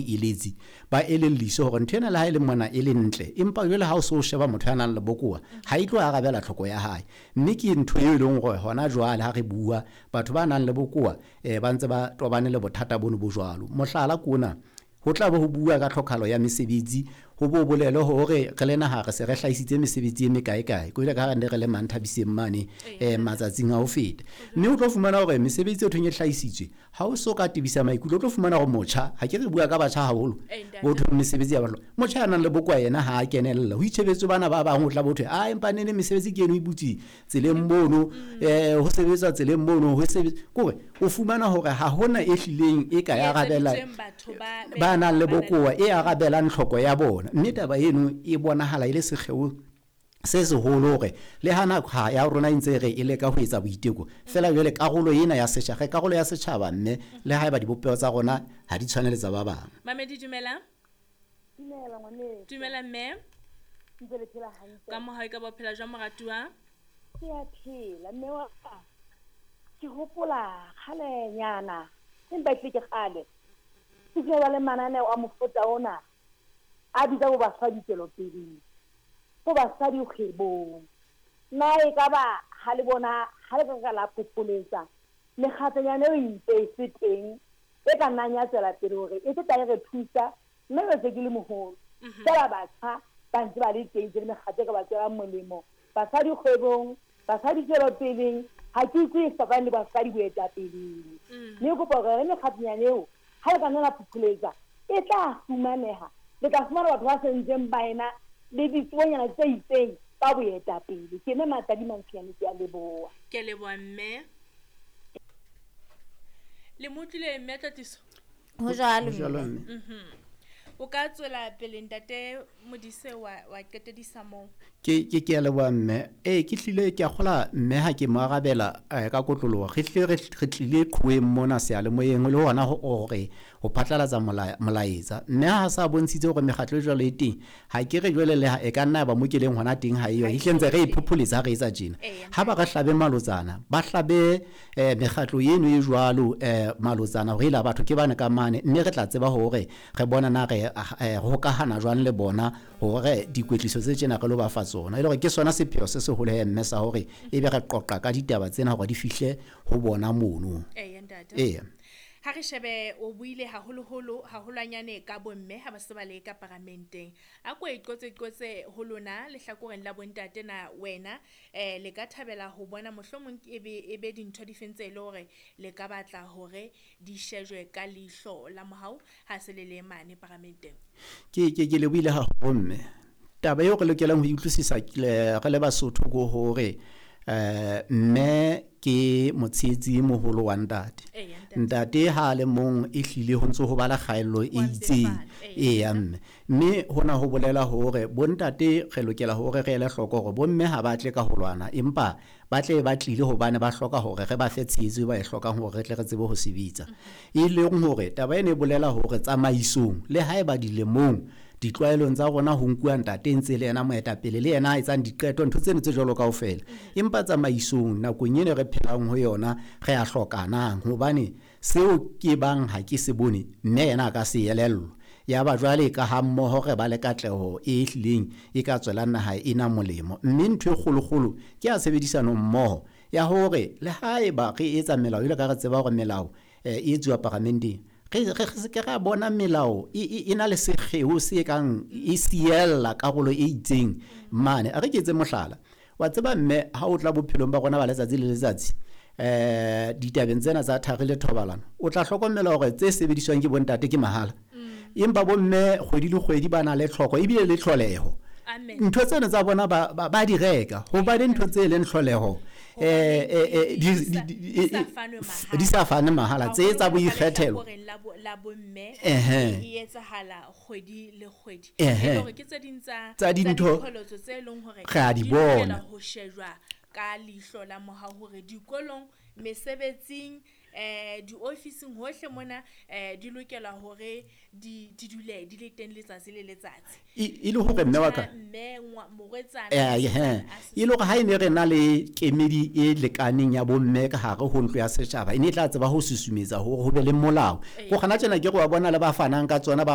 Eletsi ba elelliswe hore ntho ena le ha e le mona e le ntle, empa jwale ha o so sheba motho ya nang le bokowa ha e tlo arabela tlhoko ya hae. Mme ke ntho eo e leng hore hona jwale ha re bua, batho ba nang le bokowa ba ntse ba tobane le bothata bono bo jwalo. Mohlala ke ona, ho tla be ho bua ka tlhokahalo ya mesebetsi, ho bo bolele hore re le naha re se re hlahisitse mesebetsi e mekae kae, ko ile ka ha re ne re le Manthabiseng mane matsatsing a ho feta. Mme o tlo fumana hore mesebetsi e thweng e hlahisitswe, ha o so ka tebisa maikutlo, o tlo fumana hore motjha, ha ke re bua ka batjha haholo, bo thweng mesebetsi ya batho, motjha ya nang le bokowa yena ha a kenella, ho itjhebetswe bana ba bang, ho tla bo thwe, a empa nene mesebetsi ke eno e butswe tseleng mono, ho sebetswa tseleng mono, ho sebetswa, kore o fumana hore ha hona e hlileng e ka ya arabela ba nang le bokowa, e arabelang tlhoko ya bona. Mme taba eno e bonahala e le sekgeo se seholo hore le ha nako ha ya rona e ntse re e leka ho etsa boiteko, fela jwale karolo ena ya setjhaba, re karolo ya setjhaba, mme le haeba dibopeho tsa rona ha di tshwane le tsa ba bang. Mamedi, dumela. Dumela ngwaneso. Dumela mme. Ntse le phela hantle. Ka mohau ka ba phela jwang moratuwa? Ke a phela mme wa ka. Ke hopola kgalenyana, empa e hlile ke kgale. Ke kile ba le mananeo a mofuta ona a bitsa bo basadi tswelopeleng, bo basadi kgwebong. Na e ka ba ha le bona ha le ka ka la phopholetsa mekgatlonyana eo e ntse e se teng e ka nnang ya tswela pele hore e tla e re thusa, mme jwale se ke le moholo. Feela batjha ba ntse ba le teng tse le mekgatlo e ka ba tswelang molemo, basadi kgwebong, basadi tswelopeleng, ha ke utlwe e fapane le basadi boetapeleng. Mme ke kopa hore re mekgatlonyana eo ha le ka nna la phopholetsa e tla fumaneha, le tla fumana batho ba sentseng ba ena le ditsebonyana tse itseng ka boetapele. Ke mme Matadi Mantshinyane, ke a leboha. Ke a leboha mme. Le mo utlwile mme Tlotliso? Ho jwalo Ho jwalo mme. mme. O ka tswela pele ntate Modise wa qetedisa moo. Ke a leboha mme. Ee, ke hlile ke a kgola mme ha ke mo arabela ka kotloloho. Re hlile re tlile qhoweng mona seyalemoyeng le hona hore ho phatlalatsa molaetsa. Mme ha sa bontshitse hore mekgatlo e jwalo e teng, ha ke re jwale le ha e ka nna ya ba mo ke leng hona teng ha eyo. Ehlile ntse re e phopholetsa ha re etsa tjena. Ha ba re hlabe malotsana, ba hlabe mekgatlo eno e jwalo malotsana hore ela batho ke bane ka mane, mme re tla tseba hore re bona na re hokahana jwang le bona hore dikwetliso tse tjena re lo ba fa tsona. E le hore ke sona sepheo se seholo he mme sa hore ebe re qoqa ka ditaba tsena hore di fihle ho bona mono. Eya ntate. Eya. Ha re shebe o buile haholoholo haholwanyane ka bomme ha ba se ba le ka paramenteng. A ko e qotse qotse ho lona lehlakoreng la bontate na wena le ka thabela ho bona mohlomong e be dintho di feng tse e le hore le ka batla hore di shejwe ka leihlo la mohau ha se le le mane paramenteng. Ke le buile haholo mme. Taba eo re lokelang ho e utlwisisa re le Basotho ke hore mme ke motshehetsi e moholo wa ntate. Ntate ha a le mong e hlile ho ntse ho ba le kgaello e itseng. Eya mme. Mme hona ho bolela hore bontate re lokela hore re ele hloko hore bomme ha ba tle ka ho lwana, empa ba tle ba tlile hobane ba hloka hore re ba fe tshehetso e ba e hlokang hore re tle re tsebe ho sebetsa. E leng hore taba ena e bolela hore tsamaisong le haeba dilemong ditlwaelong tsa rona ho nkuwa ntate ntse le yena moetapele le yena a etsang diqeto, ntho tseno tse jwalo kaofela. Empa tsamaisong nakong ena re phelang ho yona re a hlokanang, hobane seo ke bang ha ke se bone mme yena a ka se elellwa. Ya ba jwale ka ha mmoho re ba le katleho e hlileng e ka tswelang naha ena molemo. Mme ntho e kgolokgolo ke ya tshebedisano mmoho ya hore le haeba re etsa melao, jwalo ka re tseba hore melao e etsuwa paramenteng, re se ke ra bona melao e na le sekgeo se kang e siella karolo e itseng mane. A re ke etse mohlala. Wa tseba mme ha o tla bophelong ba rona ba letsatsi le letsatsi, ditabeng tsena tsa thari le thobalano, o tla hlokomela hore tse sebediswang ke bontate ke mahala. Empa bomme kgwedi le kgwedi ba na le tlhoko ebile le tlholeho. Ntho tsena tsa bona ba di reka hobane ntho tse leng tlholeho di sa fane mahala, tse tsa boikgethelo. E etsahala kgwedi le kgwedi. E ke tse ding tsa dintho tse leng hore re a di bona ho shejwa ka leihlo la mohau hore dikolong, mesebetsing, diofising hohle mona di lokela hore di dule di le teng letsatsi le letsatsi. E le hore mme wa ka mme morwetsana e le hore ha e ne re na le kemedi e lekaneng ya bomme ka hare ho ntlo ya setjhaba, e ne e tla tseba ho susumetsa hore ho be le molao. Ko kgana tjena ke re wa bona le ba fanang ka tsona ba